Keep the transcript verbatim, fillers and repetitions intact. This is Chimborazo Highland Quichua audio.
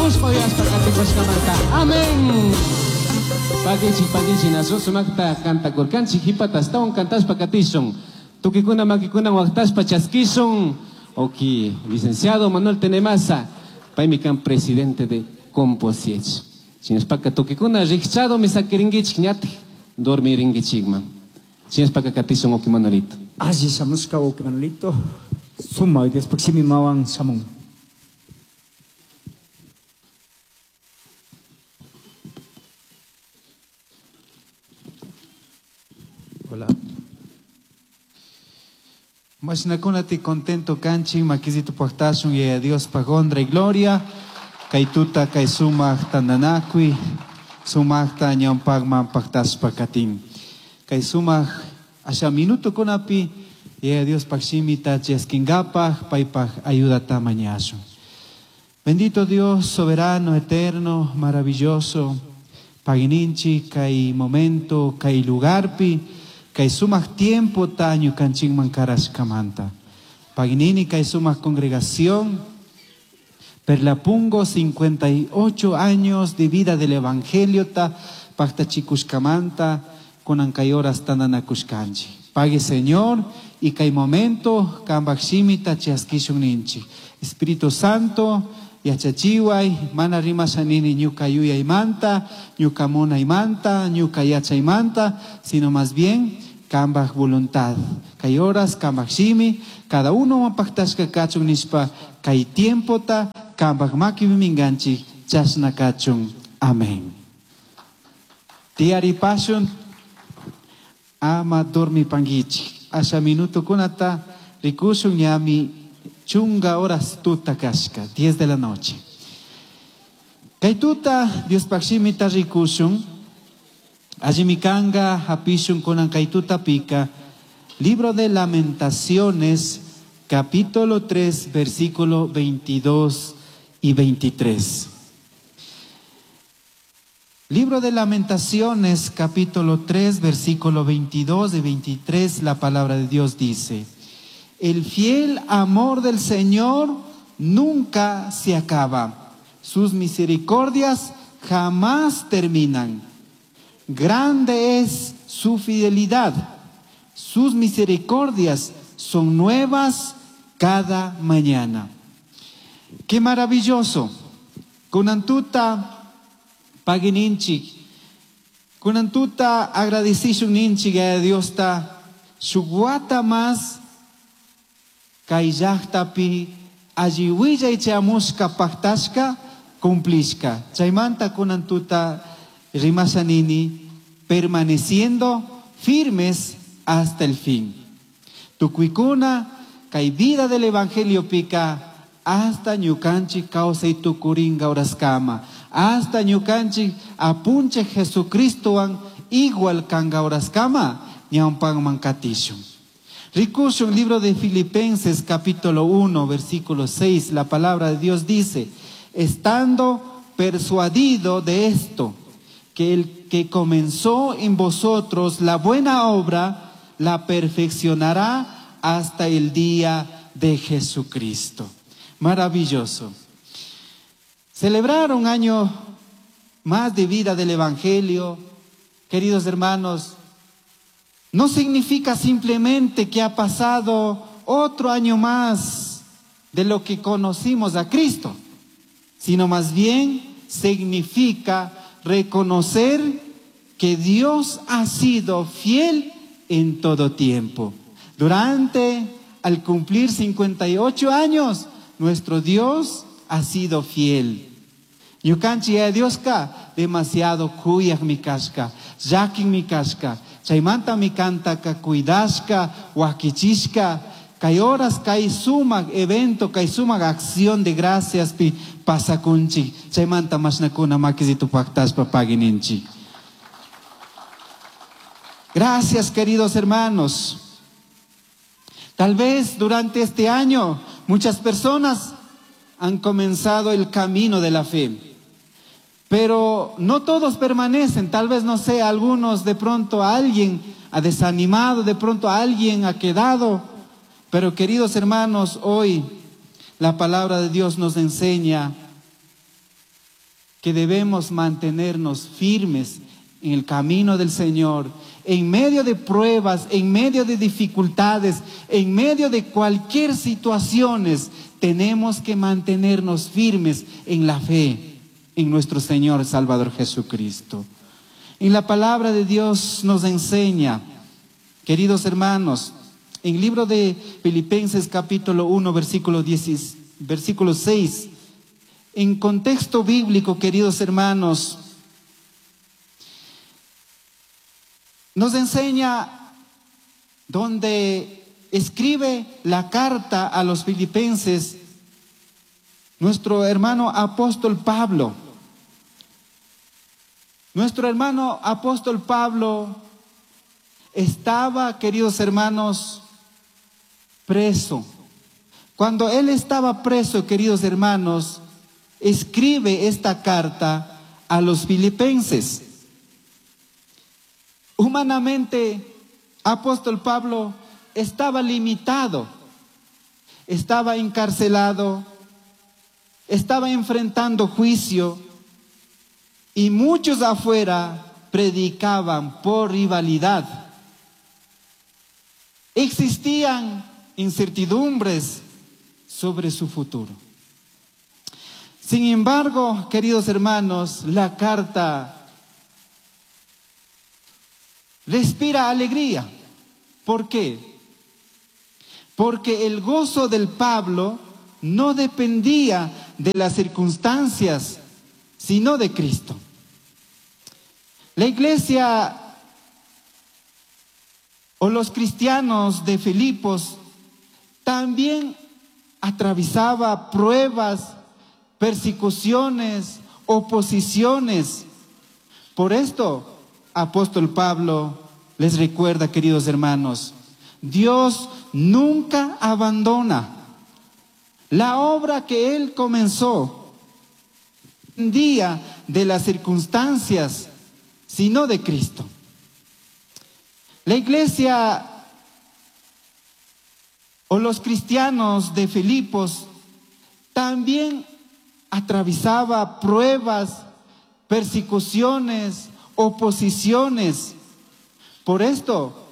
Kushikushpa uyashpa katikushkamanta. Amén. Pakichik, pakichik, nasu sumakta kantakurkanchik, hipata astawan kantashpa katishun. Tukikuna makikuna waqtashpa chaskishun. Oki, licenciado Manuel Tenemaza, paymi kan presidente de Composiech. Shinashpaka tukikuna rikchado misakirinkichik ñatik dormirinkichikman. Shinashpaka katishun oki Manuelito. Alli shamushka oki Manuelito. Suma, Diospaj shimi mawan shamun. Hola. Mashnakunati contento kanchik, makizito pajtashun, yaya Dios paj honra y gloria. Kaytuta kay sumaq tantanakuy, sumaqta ñawpaqman pajtashpa katin. Kay sumaq asha minuto kunapi, yaya Dios paj shimita chaskingapak, paypaj ayudata mañashun. Bendito Dios, soberano, eterno, maravilloso, pagininchi, kay momento, kay lugarpi, kay sumaq tiempo ta ñukanchikman karashkamanta. Paginini kay sumaq congregación, Perlapungo, cincuenta y ocho años de vida del Evangelio ta pactachikushkamanta, kunan kay horas tananakushkanchi. Pague Señor, y kay momento kambaj shimita chaskishun ninchi. Espíritu Santo, yachachiway, mana rimashanini ñuka yuyaymanta, ñuka munaymanta, ñuka yachaymanta, sino más bien kambaj voluntad. Kay horas kambaj shimi, cada uno mapajtashka kachun nishpa, kay tiempota kambaj makipi minganchik, chashna kachun. Amén. Tiaripashun, ama dormi pangichik. Asha minuto kunata rikushun ñami chunga horas tuta kashka, diez de la noche. Kay tuta Diospaj shimita rikushun, allimikanga hapishun kunan kay tuta pika, libro de Lamentaciones, capítulo tres, versículo veintidós y veintitrés. Libro de Lamentaciones, capítulo tres, versículo veintidós y veintitrés, la palabra de Dios dice: El fiel amor del Señor nunca se acaba, sus misericordias jamás terminan. Grande es su fidelidad, sus misericordias son nuevas cada mañana. ¡Qué maravilloso! Kunantuta pagininchik, kunantuta agradecishun ninchik a Dios ta shuguata más kay llaqtapi alliwillay chayamushka pajtashka cumplishka. Chaymanta kunantuta rimashanini, permaneciendo firmes hasta el fin. Tukuykuna kay vida del Evangelio pika hasta ñukanchik kawsay tukuringa horaskama, hasta ñukanchik apunche Jesucristowan igual kanga horaskama ñawpanman katishun. Rikushun libro de Filipenses capítulo uno versículo seis, la palabra de Dios dice: estando persuadido de esto, que el que comenzó en vosotros la buena obra, la perfeccionará hasta el día de Jesucristo. Maravilloso. Celebrar un año más de vida del Evangelio, queridos hermanos, no significa simplemente que ha pasado otro año más de lo que conocimos a Cristo, sino más bien significa reconocer que Dios ha sido fiel en todo tiempo. Durante, al cumplir cincuenta y ocho años, nuestro Dios ha sido fiel. Ñukanchik ya Dioska demasiado kuyaq mi kashka, llakin mi kashka, chaymanta mi kantaka cuidashka, wakichishka, kay horas kay sumaq evento, kay sumaq acción de gracias pi pasakunchik, chaymanta mashnakuna makisitu pactashpa pagininchik. Gracias, queridos hermanos. Tal vez durante este año muchas personas han comenzado el camino de la fe, pero no todos permanecen. Tal vez, no sé, algunos de pronto alguien ha desanimado, de pronto alguien ha quedado. Pero queridos hermanos, hoy la palabra de Dios nos enseña que debemos mantenernos firmes en el camino del Señor, en medio de pruebas, en medio de dificultades, en medio de cualquier situaciones, tenemos que mantenernos firmes en la fe en nuestro Señor Salvador Jesucristo. En la palabra de Dios nos enseña, queridos hermanos, en el libro de Filipenses capítulo uno, versículo diez, versículo seis, en contexto bíblico, queridos hermanos, nos enseña donde escribe la carta a los filipenses nuestro hermano apóstol Pablo. Nuestro hermano apóstol Pablo estaba, queridos hermanos, preso. Cuando él estaba preso, queridos hermanos, escribe esta carta a los filipenses. Humanamente, apóstol Pablo estaba limitado, estaba encarcelado, estaba enfrentando juicio y muchos afuera predicaban por rivalidad. Existían incertidumbres sobre su futuro. Sin embargo, queridos hermanos, la carta respira alegría. ¿Por qué? Porque el gozo del Pablo no dependía de las circunstancias, sino de Cristo. La iglesia o los cristianos de Filipos también atravesaba pruebas, persecuciones, oposiciones. Por esto, apóstol Pablo les recuerda, queridos hermanos, Dios nunca abandona la obra que Él comenzó. Día de las circunstancias, sino de Cristo. La iglesia o los cristianos de Filipos también atravesaba pruebas, persecuciones, oposiciones. Por esto,